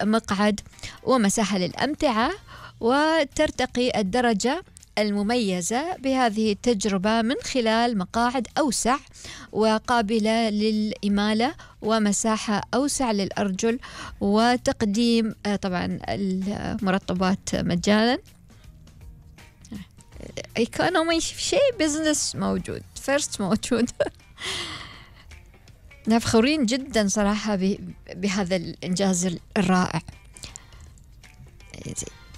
مقعد ومساحة للأمتعة، وترتقي الدرجة المميزة بهذه التجربة من خلال مقاعد أوسع وقابلة للإمالة ومساحة أوسع للأرجل، وتقديم طبعا المرطبات مجانا. ايكونومي شيء، بزنس موجود، فيرست موجود. فخورين جدا صراحة بهذا الإنجاز الرائع.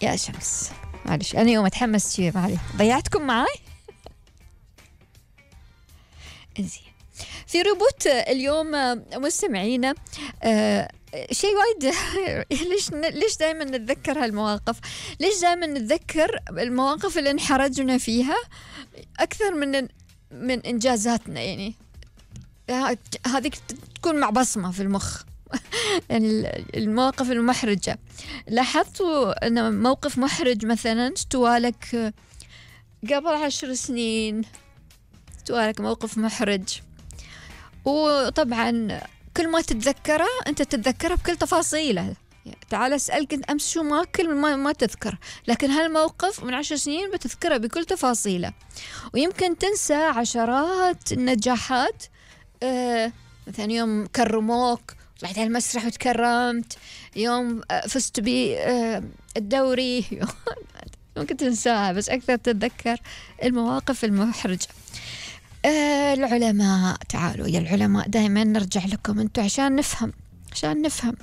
يا شمس معلش أنا يوم أتحمس شيء معلش ضيعتكم معاي. إنزين في ربوت اليوم مستمعينا شيء وايد. ليش دائما نتذكر هالمواقف؟ ليش دائما نتذكر المواقف اللي انحرجنا فيها أكثر من إنجازاتنا؟ يعني هذه تكون مع بصمة في المخ. المواقف المحرجة، لاحظتوا أن موقف محرج مثلا استوالك قبل 10 سنين، استوالك موقف محرج، وطبعا كل ما تتذكره أنت تتذكره بكل تفاصيله. تعال أسألك أنت أمس شو ماكل ما تذكر، لكن هالموقف من 10 سنين بتذكره بكل تفاصيله. ويمكن تنسى عشرات النجاحات، مثلا يوم كرموك طلعت على المسرح وتكرمت، يوم فزت بالدوري، ممكن تنساها بس أكثر تتذكر المواقف المحرجة. العلماء، تعالوا يا العلماء دائما نرجع لكم أنتوا عشان نفهم.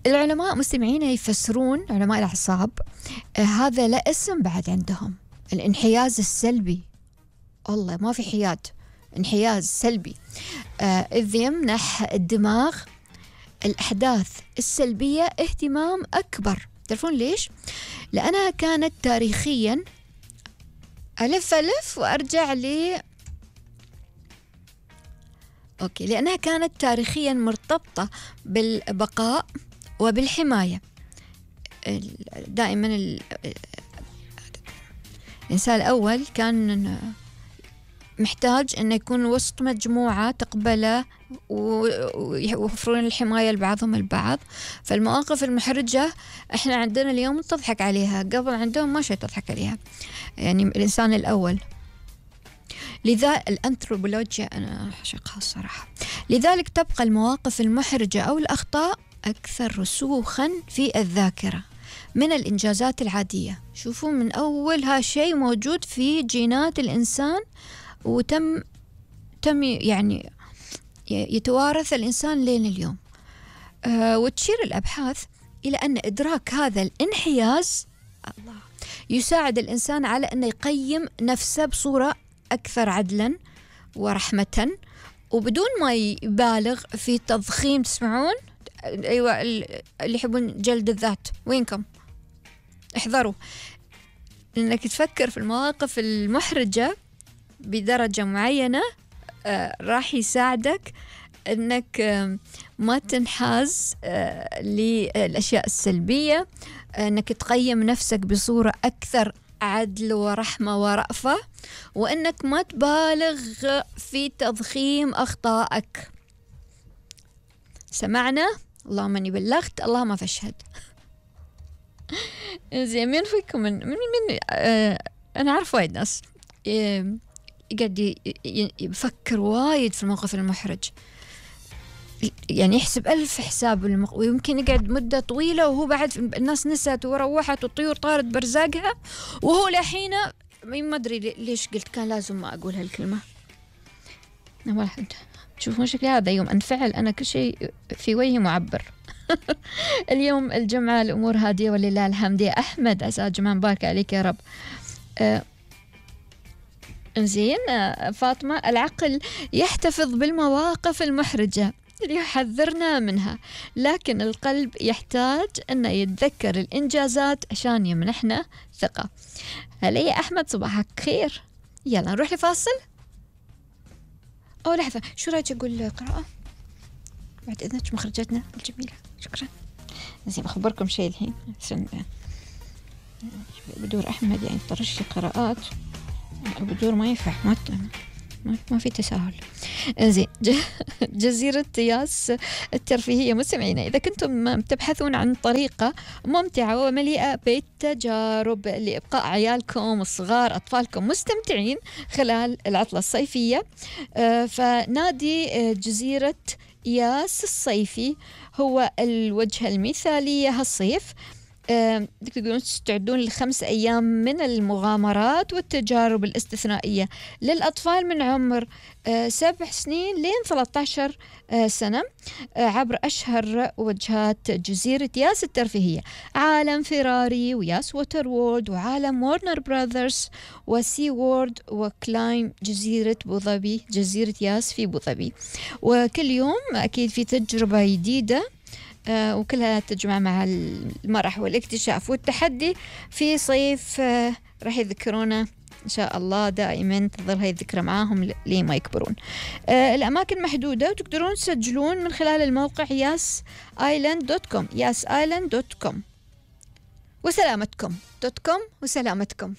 العلماء مستمعين يفسرون، علماء الأعصاب، هذا لا اسم بعد عندهم، الانحياز السلبي. والله ما في حياد، انحياز سلبي، إذ يمنح الدماغ الأحداث السلبية اهتمام أكبر. تعرفون ليش؟ لأنها كانت تاريخيا، ألف وأرجع لأنها كانت تاريخيا مرتبطة بالبقاء وبالحماية. دائما الإنسان الأول كان محتاج أن يكون وسط مجموعة تقبله ويوفرون الحماية لبعضهم البعض. فالمواقف المحرجة احنا عندنا اليوم تضحك عليها، قبل عندهم ما شيء تضحك عليها، يعني الإنسان الأول. لذا الأنثروبولوجيا أنا أعشقها الصراحة. لذلك تبقى المواقف المحرجة أو الأخطاء أكثر رسوخا في الذاكرة من الإنجازات العادية. شوفوا من أولها شيء موجود في جينات الإنسان، وتم يعني يتوارث الإنسان لين اليوم. وتشير الأبحاث إلى أن إدراك هذا الانحياز يساعد الإنسان على أن يقيم نفسه بصورة أكثر عدلا ورحمة، وبدون ما يبالغ في تضخيم. تسمعون؟ أيوة، اللي يحبون جلد الذات وينكم؟ احذروا، لأنك تفكر في المواقف المحرجة بدرجة معينة راح يساعدك أنك ما تنحاز للأشياء السلبية، أنك تقيم نفسك بصورة أكثر عدل ورحمة ورأفة، وأنك ما تبالغ في تضخيم أخطائك. سمعنا؟ اللهم أني بلغت، اللهم فاشهد. زين، مين فيكم من أنا أعرف وايد ناس يقعد يفكر وايد في الموقف المحرج، يعني يحسب 1000 حساب ويمكن يقعد مدة طويلة وهو بعد الناس نست وروحت والطيور طارت برزاقها، وهو لحين ما أدري ليش قلت كان لازم ما أقول هالكلمة. واحد تشوفون شكلي هذا يوم أنفعل أنا كل شيء في وجهي معبر. اليوم الجمعة الأمور هادية ولله الحمد. يا أحمد عسى جمعة مبارك عليك يا رب. زين. فاطمة، العقل يحتفظ بالمواقف المحرجة ليحذرنا منها، لكن القلب يحتاج أن يتذكر الإنجازات عشان يمنحنا ثقة. هلا يا أحمد، صباحك خير. يلا نروح لفاصل. لحظة، شو رأيك أقول قراءة بعد إذنك مخرجتنا الجميلة؟ شكرا. زين، بخبركم شيء الحين بدور أحمد يعني طرش قراءات، بدور ما ينفع، ما ما في تساهل. زين. جزيرة ياس الترفيهية مستمعينا، إذا كنتم تبحثون عن طريقة ممتعة ومليئة بالتجارب لإبقاء عيالكم الصغار أطفالكم مستمتعين خلال العطلة الصيفية، فنادي جزيرة ياس الصيفي هو الوجهة المثالية هالصيف. تقدرون تستعدون ل5 أيام من المغامرات والتجارب الاستثنائية للأطفال من عمر 7 سنين لين 13 سنة، عبر أشهر وجهات جزيرة ياس الترفيهية: عالم فيراري وياس ووتر وورد وعالم وورنر براذرز وسي وورد وكلايم جزيرة بوظبي، جزيرة ياس في بوظبي. وكل يوم أكيد في تجربة جديدة، وكلها تجمع مع المرح والاكتشاف والتحدي في صيف راح يذكرونا إن شاء الله دائما، تظل هاي الذكرى معاهم لما يكبرون. الأماكن محدودة وتقدرون تسجلون من خلال الموقع yasisland.com yasisland.com وسلامتكم .com وسلامتكم.